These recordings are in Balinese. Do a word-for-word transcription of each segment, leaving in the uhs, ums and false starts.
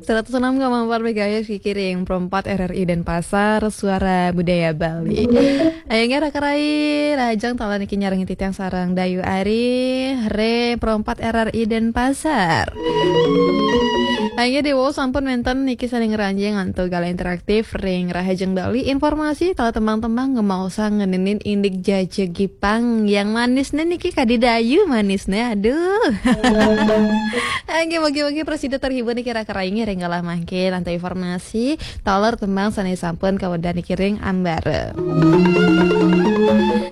Seratus enam koma empat megahertz Kiki ring Pro empat R R I Denpasar, Suara Budaya Bali. Ayo nggih raka rai, rahajeng taler niki nyarengin titiang sareng Dayu Ari, ring Pro empat R R I Denpasar. Ayo nggih, Dewo, sampun wenten niki saling ngranjing antuk galah interaktif ring Rahajeng Bali, informasi taler tembang-tembang ngemaosang ngeninin indik jajegipang yang manisnya niki kadi Dayu manisnya, aduh. Nggih, mugi-mugi prasida terhibur niki raka rai nggih ring galah mangkin antuk informasi taler tembang sané sampun kawedar niki ring ambara.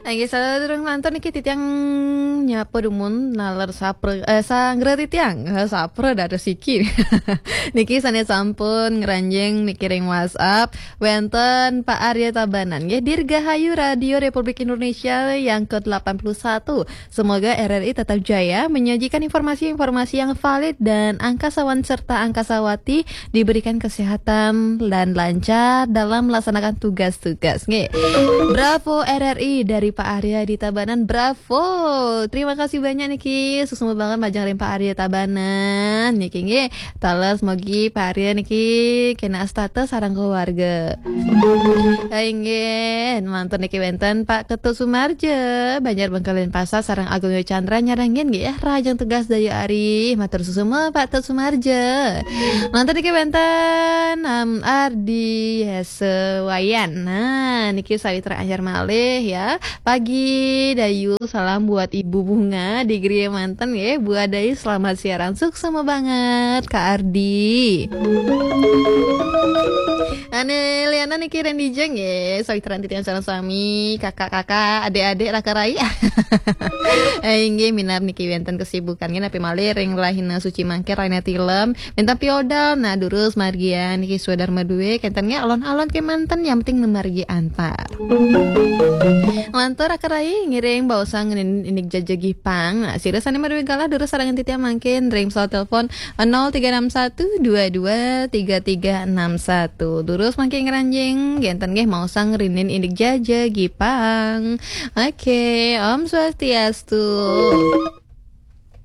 Nggih, sadurung lantur niki titiang nyapa dumun naler sapra, eh, sanggra titiang, eh, sapra dados siki. Niki sané sampun ngranjing niki ring WhatsApp, wenten Pak Arya Tabanan nggih, Dirgahayu Radio Republik Indonesia yang kedelapan puluh satu. Semoga R R I tetap jaya menyajikan informasi-informasi yang valid dan angkasawan serta angkasawati diberikan kesehatan dan lancar dalam melaksanakan tugas-tugas. Nggih. Bravo R R I dari Pak Arya di Tabanan. Bravo. Terima kasih banyak niki. Suksma banget majeng ring Pak Arya Tabanan. Niki nggih. Taler mugi Pak Arya niki kena astata sareng keluarga. Inggih, mantun niki wenten Pak Ketut Sumarja, Banjar Bengkalen Pasar sareng Agung Yo Chandra nyarengin nggih ya, rahajeng tugas Dayu Ari. Matur suksma Pak Ketut Sumarja. Mantun niki wenten Am Ardi Hese Wayan. Nah, niki sawitra anyar malih ya. Pagi Dayu, salam buat Ibu Bunga di Gria Manten ya. Buat Dayu selamat siaran. Suksma banget Kak Ardi. Ane liana niki Rendi Jeng ya. Sawitra titiang sareng sami, kakak-kakak, adik-adik, raka rai. Eh, inggih minab niki wenten kesibukan nggih napi malih ring rahina suci mangkin rahina tilem. Minab piodal, nah durus margian niki swadarma duwe, kenten nggih alon-alon kemanten yang penting numargi antar. Lantur raka rai ngiring baosang ngenin indik jajegipang. Nah, sira sané madué galah durus sareng titiang mangkin ring pesawat telepon nol tiga enam satu dua dua tiga tiga enam satu. Durus mangkin ngranjing, kenten nggih maosang ngenin indik jajegipang. Oke, Om Swastiastu.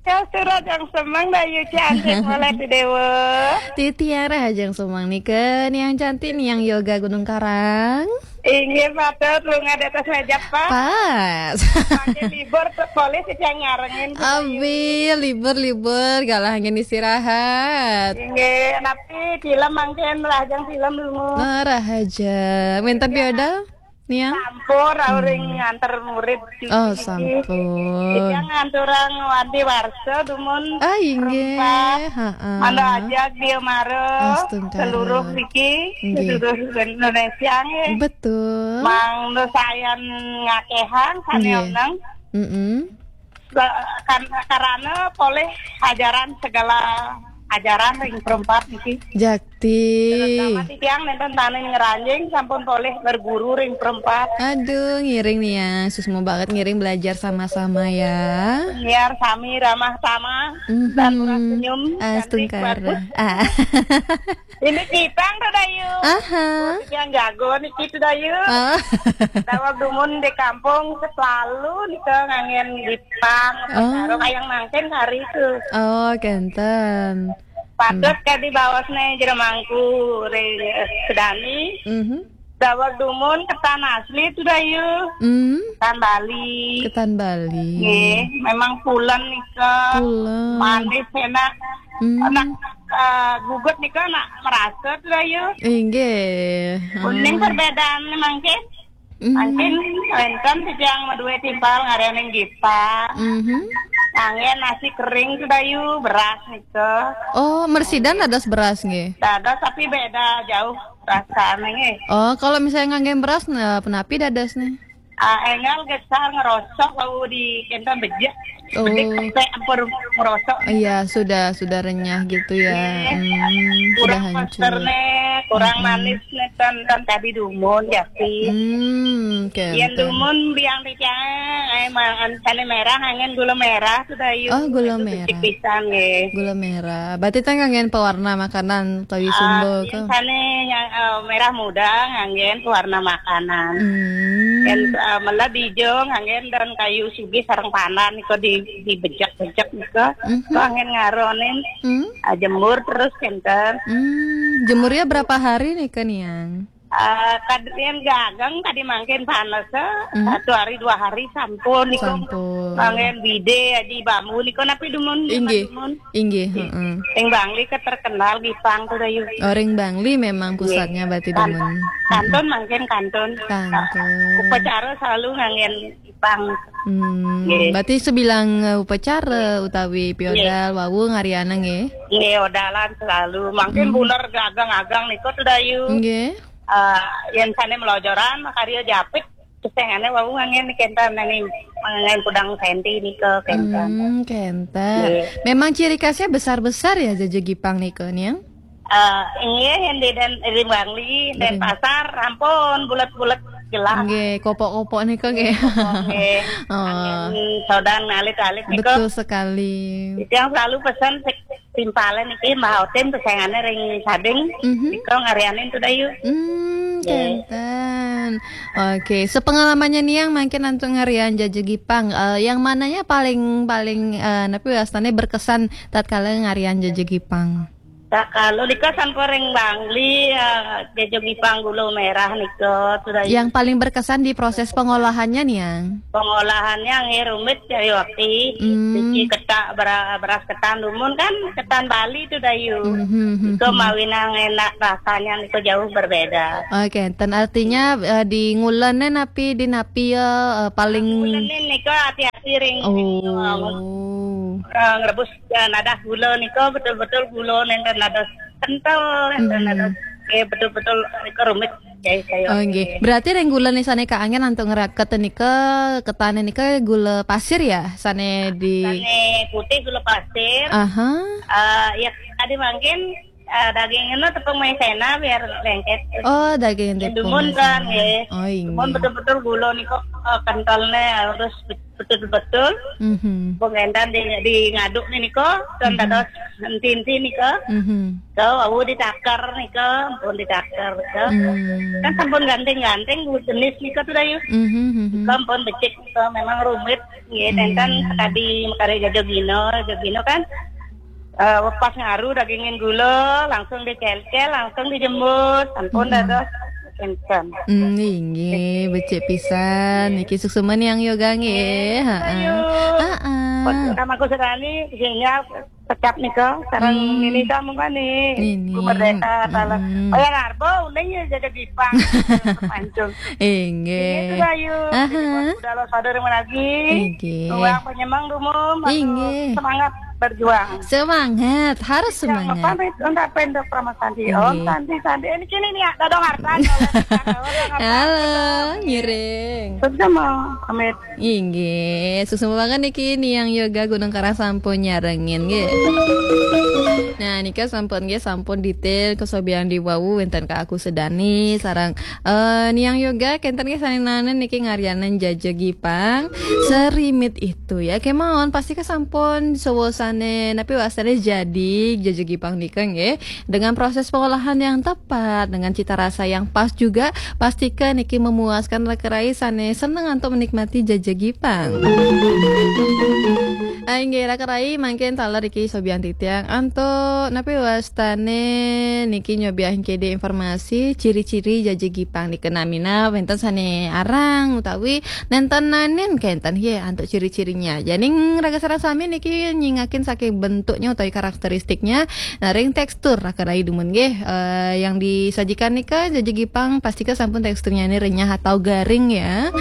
Swastiastu, rahajeng semeng Dayu cantik malih Dewa. Titiang rahajeng semeng nika, Niang cantik, Niang Yoga Gunung Karang. Inggih, patut lunga di atas meja, Pak. Pas. Pakai libur, polih sing nyarengin kita. Abi, libur-libur, galah angin istirahat. Inggih, napi film mangkin, rahajeng film dulu. Nah, rahajeng. Wenten piodal, Niang? Sampun, rauh ring nganter murid. Oh, sampun. Titiang ngaturang wanti warsa dumun. Ah, inggih. Perempat. Heeh. Mangda ajak dia mara. Astungkara. Seluruh niki, inggih, seluruh Indonesia nggih. Betul. Mangda sayan ngakehang sané, nggih, oneng. Mm-mm. Ka-, kan-, karana polih ajaran segala ajaran ring perempat niki. Jakti. Terutama titiang nenten tanin ngranjing sampun polih berguru ring perempat. Aduh, ngiring nih ya. Susma banget ngiring belajar sama-sama ya. Biar sami ramah tamah, mhm, dan murah senyum, cantik, astungkara, bagus. Ah. Ini Jipang tuh, Dayu. Aha. Yang jago nih gitu, Dayu. Ah. Daweg dumun di kampung selalu nika nganggén Jipang, oh, kayang mangkin hari itu. Oh, kenten. Patut, hmm, kadi baosné jero mangku ring, eh, Sedani. Mhm. Daweg dumun ketan asli tuh, Dayu. Hmm. Ketan Bali. Ketan Bali. Nggih, memang pulen nika. Pulen. Manis, enak. Hmm. Enak, eh, gugut nika nak merasa tuh, Dayu. Inggih. Kuning, hmm, perbedaan mangkin. Hmm. Mangkin wénten titiang madué timpal ngaryaning Gita. Mhm. Nganggé nasi kering tuh, Dayu, beras nika. Oh, mersidan dados beras nggih? Dados, tapi beda jauh rasanya nggih. Oh, kalau misalnya nganggé beras, nah, penapi dados nih? Ah, énggal gesar ngerosok, wau di kenten bejek. Oh. Bejek sampai ampun ngerosok. Iya, sudah, sudah renyah gitu ya. Iya. Hmm, sudah hancur. Kurang posterné, Kurang manis nih, ten, ten tadi dumun, Japi. Hmm, oke. Yen dumun biang titiang, eh, ma-, an-, sane merah, anggen gula merah, sudah yuk. Oh, gula merah. Pisan, nggih. Gula merah. Berarti ten nganggen pewarna makanan utawi sumba ke? Sane yang, eh, merah muda, nganggen pewarna makanan. Hmm. Yen, eh, mela dijo, nganggen daun kayu sugih sareng pandan, nika di, dibejek-bejek, nika. Mhm. Kok anggen ngaronin. Hmm. Ah, jemur terus, kinten. Hmm, jemurnya berapa hari nih, Kak Niang? Ah, kad-, yen gagang tadi mangkin panas, eh, hmm, satu hari, dua hari sampun, niku. Sampun. Mangkin bide, aji bambu, niku napi dumun, inggih, dumun. Inggih, heeh. Ring Bangli ke terkenal Gipang tuh, Dayu. Oh, ring Bangli memang pusatnya berarti dumun. Kantun mangkin, kantun. Kantun. Upacara selalu nganggen Gipang. Hmm, nggih. Berarti sebilang, eh, upacara utawi piodal wau ngariana nggih? Nggih, odalan selalu. Mangkin hmm, buner gagang-agang niku tuh, Dayu. Nggih. Eh, yen sane melojoran, makarya japit, kesengane wau nganggen kenten, nani nganggen kudang senti nika kenten. Hmm, kenten. Nggih. Memang ciri khasnya besar-besar ya, jaja Gipang nika, Niang? Eh, inggih, yen di Den-, di Bangli, Denpasar, ampun, bulet-bulet jelas. Nggih, kopok-kopok nika nggih. Nggih. Oh. Anggen sodan alit-alit nika. Betul sekali. Yang selalu pesen sik timpalen niki, Mbah Otim, pesengane ring Sading, mhm, nika ngarianin tuh, Dayu. Hmm, nggih. Kenten. Oke, sepengalamannya Niang mangkin antuk ngarian jaja Gipang, eh, yang mananya paling, paling, eh, napi wastane berkesan tatkala ngarian jaja Gipang? Nah, kalau nika sampun ring Bangli, eh, jaja Gipang gula merah nika, sudah. Yang paling berkesan di proses pengolahannya, Niang? Pengolahannya nggih rumit, ya, Yoti. Hmm. Cuci ketak bera-, beras ketan dumun kan, ketan Bali tuh, Dayu. Hmm, hmm, hmm, nika hmm, mawinang enak rasanya, nika jauh berbeda. Oke, ten artinya, eh, di ngulene napi, di napi ya, eh, paling ngulene nika hati-hati ring. Oh. Eh, ngrebus, eh, nadah gula nika betul-betul gula nenten nados kental, nenten hmm, nados, eh, betul-betul nika rumit, ya, saya. Oh, nggih. Berarti ring gula nih sane kaangen antuk ngeraketen nika, ketane nika gula pasir ya, sane di sane putih gula pasir. Aha. Eh, ya, tadi mangkin, eh, daging eno tepung maizena biar lengket. Oh, daging tepung maizena. Dumun kan, nggih. Oh, inggih. Dumun betul-betul gula nika, eh, kentalne harus betul-betul. Mhm. Pengendan di, di ngaduk nih nika, kan dados enti-enti nika. Mhm. Ke wau ditaker nika, pun ditaker nika. Hmm. Kan sampun ganting-ganting jenis nika tuh, Dayu. Mhm, mhm. Nika pun becik nika, memang rumit. Nggih, hmm, tenten tadi makare jaja gino, jaja gino kan, eh, pas ngaru dagingin gula, langsung dicelcel, langsung dijemur, sampun dados. Enten. Hmm, inggih, becik pisan. Nggih. Niki suksma Niang Yoga nggih. Nggih, heeh. Ayo. Heeh. Pun sama aku sedani, sinyal pecap nika, sareng hmm, Nini Samungkani. Nini. Bu Merdeka, salah. Hmm. Oh ya, ngarbo, uning ya jaja Gipang. Pancung. Inggih. Itu, Dayu. Aha. Jadi, buat udah lo sadar lagi. Inggih. Ruang penyemang dumun, inggih, semangat berjuang. Semangat, harus semangat. Pamit untuk pendok Pramasandi. Inggih. Om Santi Santi. Ini kini nih, ada dong harta. Halo, ngiring. Sama, pamit. Inggih, suksma banget niki Niang Yoga Gunung Karang sampun nyarengin nggih. Nah, nika sampun nggih, sampun detail kesobian di wau wenten ka aku sedani sareng, eh, Niang Yoga kenten nggih sane nanen niki ngarianan jaja Gipang serimit itu ya. Kemawon pasti kesampun sewosane napi wastane jadi jaja Gipang nika nggih. Dengan proses pengolahan yang tepat, dengan cita rasa yang pas juga, pastika niki memuaskan raka rai sane seneng antuk menikmati jaja Gipang. Ah, inggih, raka rai mangkin taler iki sobian titiang antuk napi wastane niki nyobiahin kede informasi ciri-ciri jaja Gipang nika namina wenten sane arang utawi nenten nanen kenten ye antuk ciri-cirinya. Janing raka sareng sami niki nyingakin saking bentuknya utawi karakteristiknya. Nah, ring tekstur raka rai dumun nggih, eh, yang disajikan nika jaja Gipang pastika sampun teksturnya ini renyah atau garing ya.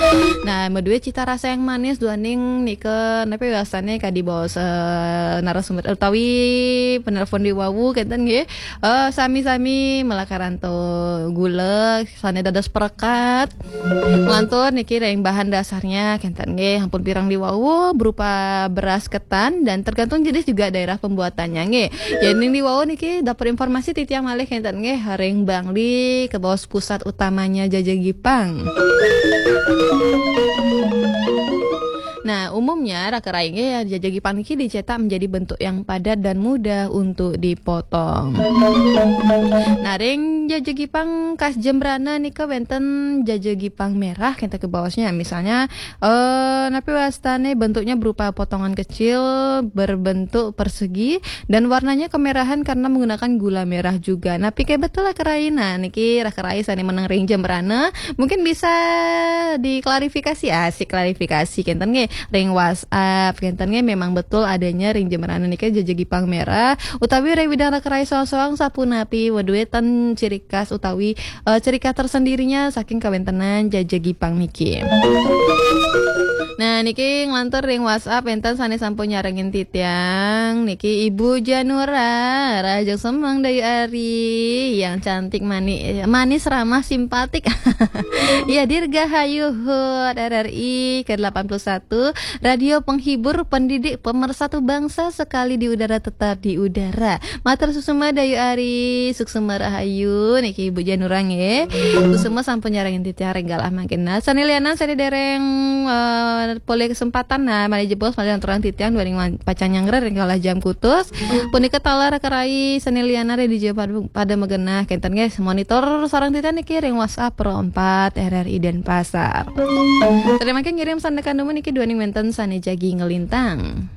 Nah, madue cita rasa yang manis duaning nika napi wastane Di bawah, eh, narasumber utawi penelpon di wau kenten nggih. Eh, sami-sami melakaran to gula sane dados perekat. Lantur niki ring bahan dasarnya kenten nggih, ampun pirang di wau berupa beras ketan dan tergantung jenis juga daerah pembuatannya nggih. Yen ning di wau niki dapur informasi titiang malih kenten nggih, ring Bangli ke bawah pusat utamanya Jaja Gipang. Nah, umumnya raka rai nggih, jaja gipang niki dicetak menjadi bentuk yang padat dan mudah untuk dipotong. Nah, ring jaja gipang khas Jembrana nika wenten jaja gipang merah kita ke bawahnya. Misalnya, eh napi wastane bentuknya berupa potongan kecil berbentuk persegi dan warnanya kemerahan karena menggunakan gula merah juga. Napi ke betul raka rai? Nah, niki raka rai sane meneng ring Jembrana mungkin bisa diklarifikasi, asik klarifikasi kenten nggih ring WhatsApp kenten nggih, memang betul adanya ring Jembrana niki jaja gipang merah utawi ring widang raka rai soang-soang sapunapi weduwe ten ciri khas utawi, eh, ciri khas tersendirinya saking kawentenan jaja gipang niki. Nah, niki nglantur ring WhatsApp enten sane sampun nyarengin titiang niki Ibu Janura, Raja Semang Dayu Ari yang cantik, manis, manis, ramah, simpatik. Ya, dirgahayu hut R R I ke delapan puluh satu, radio penghibur, pendidik, pemersatu bangsa, sekali di udara tetap di udara. Matur suksma Dayu Ari, suksma rahayu niki Ibu Janura nggih. Suksma sampun nyarengin titiang ring galah mangkin. Nah, sane lianan sane dereng, eh, polih kesempatan, nah, malih jebos malih aturang titiang duaning wan-, pacang nyanggra ring galah jam kutus. Punika taler raka rai sane lianan ring dija pad-, pada magenah kenten nggih, monitor sareng titiang niki ring WhatsApp Pro empat R R I Denpasar. Terima kasih ngirim sandekan dumun niki duaning wenten sane jagi ngelintang.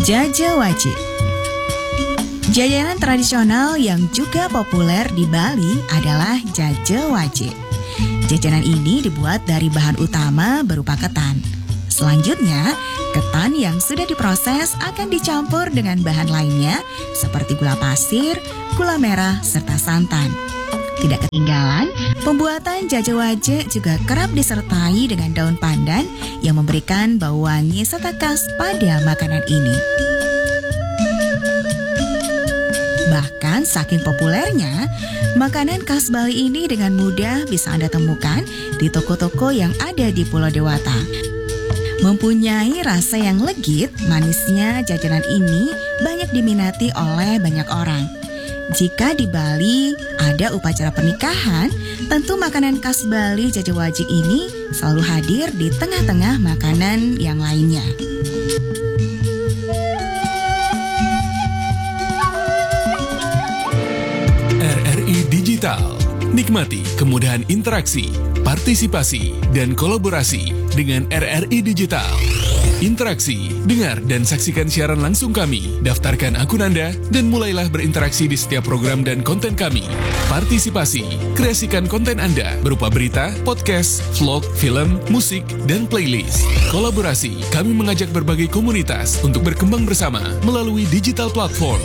Jaja Wajik. Jajanan tradisional yang juga populer di Bali adalah jaja wajik. Jajanan ini dibuat dari bahan utama berupa ketan. Selanjutnya, ketan yang sudah diproses akan dicampur dengan bahan lainnya seperti gula pasir, gula merah, serta santan. Tidak ketinggalan, pembuatan jaja wajik juga kerap disertai dengan daun pandan yang memberikan bau wangi serta khas pada makanan ini. Bahkan saking populernya, makanan khas Bali ini dengan mudah bisa Anda temukan di toko-toko yang ada di Pulau Dewata. Mempunyai rasa yang legit, manisnya jajanan ini banyak diminati oleh banyak orang. Jika di Bali ada upacara pernikahan, tentu makanan khas Bali jaja wajik ini selalu hadir di tengah-tengah makanan yang lainnya. R R I Digital. Nikmati kemudahan interaksi, partisipasi, dan kolaborasi dengan R R I Digital. Interaksi, dengar dan saksikan siaran langsung kami. Daftarkan akun Anda dan mulailah berinteraksi di setiap program dan konten kami. Partisipasi, kreasikan konten Anda berupa berita, podcast, vlog, film, musik, dan playlist. Kolaborasi, kami mengajak berbagai komunitas untuk berkembang bersama melalui digital platform.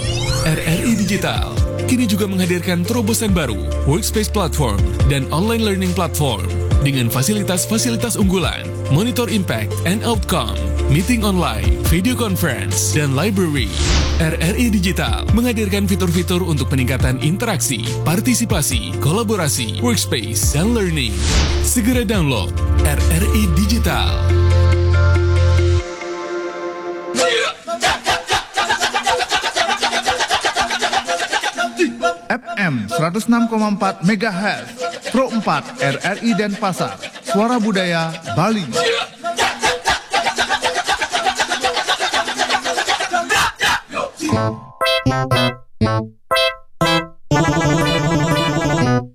R R I Digital kini juga menghadirkan terobosan baru, Workspace Platform dan Online Learning Platform dengan fasilitas-fasilitas unggulan, Monitor Impact and Outcome, Meeting Online, Video Conference, dan Library. R R I Digital menghadirkan fitur-fitur untuk peningkatan interaksi, partisipasi, kolaborasi, workspace, dan learning. Segera download R R I Digital. F M seratus enam koma empat megahertz, Pro empat R R I Denpasar, Suara Budaya Bali.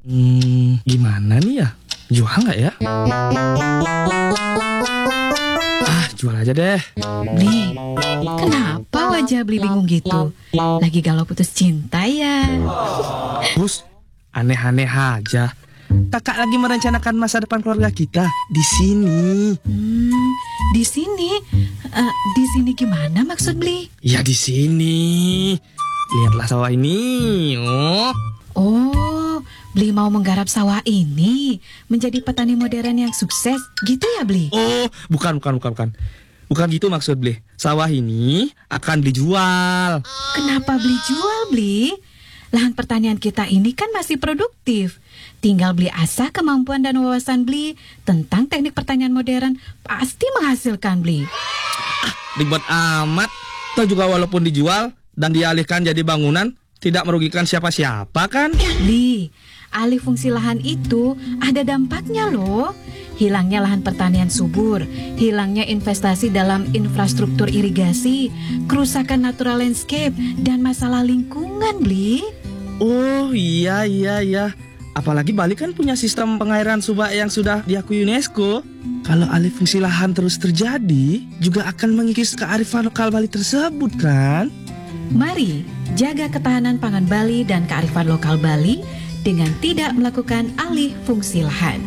Hmm, gimana nih ya? Jual nggak ya? Ah, jual aja deh. Bli, kenapa wajah Bli bingung gitu? Lagi galau putus cinta ya? Bus, aneh-aneh aja. Kakak lagi merencanakan masa depan keluarga kita di sini. Hmm, di sini? Eh, di sini gimana maksud Bli? Ya di sini. Lihatlah sawah ini. Oh. Oh, Beli mau menggarap sawah ini menjadi petani modern yang sukses, gitu ya, Beli? Oh, bukan, bukan, bukan, bukan. Bukan gitu maksud Beli. Sawah ini akan Beli jual. Kenapa Beli jual, Beli? Lahan pertanian kita ini kan masih produktif. Tinggal Beli asah kemampuan dan wawasan Beli tentang teknik pertanian modern, pasti menghasilkan, Beli. Ribet amat. Toh juga walaupun dijual dan dialihkan jadi bangunan, tidak merugikan siapa-siapa kan? Beli, alih fungsi lahan itu ada dampaknya loh. Hilangnya lahan pertanian subur, hilangnya investasi dalam infrastruktur irigasi, kerusakan natural landscape, dan masalah lingkungan, Beli. Oh iya, iya, iya. Apalagi Bali kan punya sistem pengairan subak yang sudah diakui UNESCO. Kalau alih fungsi lahan terus terjadi, juga akan mengikis kearifan lokal Bali tersebut kan? Mari jaga ketahanan pangan Bali dan kearifan lokal Bali dengan tidak melakukan alih fungsi lahan.